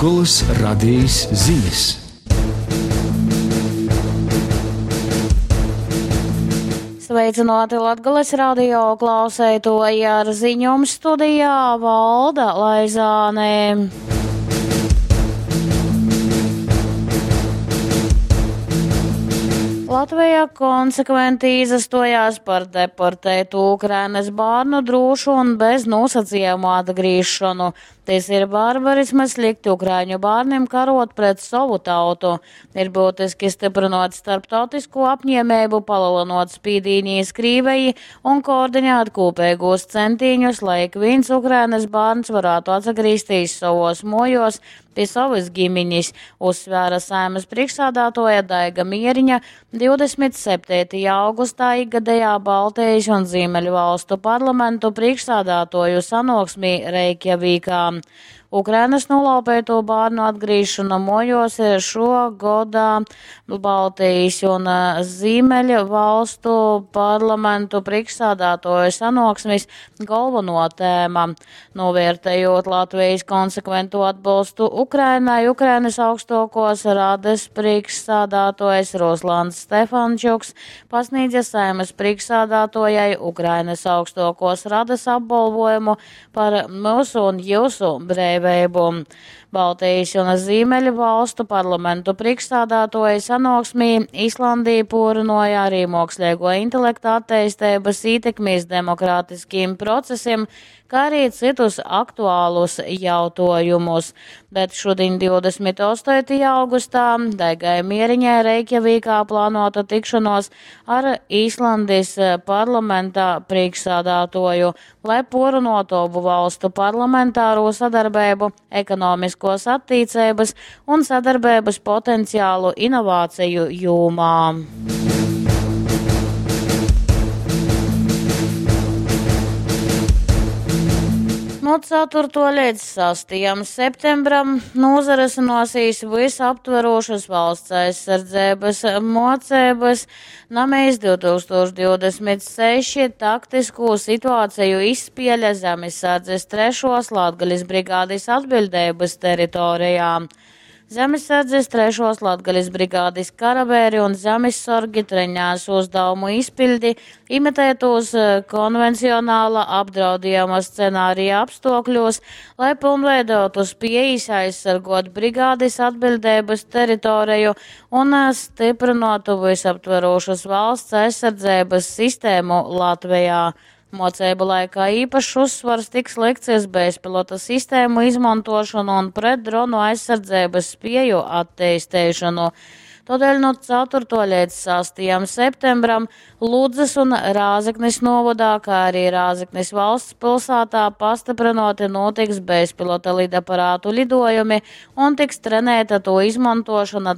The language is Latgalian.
Latgolys Radejis zinis. Sveicināti Latgales radio klauseitoji ar ziņom studijā Valda Laizāne. Latvija konsekventi izastojās par deportētu Ukrainas bērnu drūšu un bez nosacījumu atgriešanu. Tas ir barbarisms likt ukraiņu bērniem karot pret savu tautu. Ir būtiski stiprinot starptautisko apņēmību, palielinot spīdīnijas Krīveji un koordinēt kopīgos centīņus, lai ik viens Ukrainas bērns varētu atgriezties savos mojos pie savas ģimenes, uzsvēra Saeimas priekšsādātoja Daiga Mieriņa 27. augustā ikgadējā Baltijas un Ziemeļu valstu parlamentu priekšsādātoju sanāksmī Reikjavīkā. Ukrainas nolaupēto bērnu atgriežana mojos ir šo godā Baltijas un Ziemeļu valstu parlamentu priekšsādātoju sanāksmes galveno tēma. Novērtējot Latvijas konsekventu atbalstu Ukrainai, Ukrainas augstākos rades priekšsādātājs Ruslans Stefančuks pasniedza Saeimas priekšsādātojai Ukrainas augstākos rades apbalvojumu par mūsu un jūsu brīvību. Baltijas un Ziemeļu valstu parlamentu priekšsādātoja sanāksmī Islandija pūrinoja arī mākslīgo intelekta attīstības ietekmīs demokrātiskiem procesiem, kā arī citus aktuālus jautājumus. Bet šodien 28. augustā Daigai Mieriņai Reikjavīkā plānota tikšanos ar Īslandes parlamenta priekšsādātoju, lai porunotu abu valstu parlamentāro sadarbību, ekonomiskos attīcības un sadarbības potenciālu inovāciju jomā. No 4. līdz 6. septembram nozares visaptverošas valsts aizsardzības mocības Namīs 2026 taktisko situāciju izspēle Zemesardzes trešos Latgales brigādes atbildības teritorijā. Zemesardzes trešos Latgales brigādes karavēri un zemessorgi trenēs uzdevumu izpildi, imitētos konvencionāla apdraudījuma scenārija apstākļos, lai pilnveidotu spējas aizsargot brigādes atbildības teritoriju un stiprinātu visaptverošas valsts aizsardzības sistēmu Latvijā. Mocību laikā īpašs uzsvars tiks likts uz bezpilota sistēmu izmantošanu un pretdronu aizsardzības spēju attīstīšanu. Tādēļ no 4. līdz 6. septembram Ludzas un Rāzeknis novadā, kā arī Rāzeknis valsts pilsētā pastiprinoti notiks bezpilota lidaparātu lidojumi un tiks trenēta to izmantošana.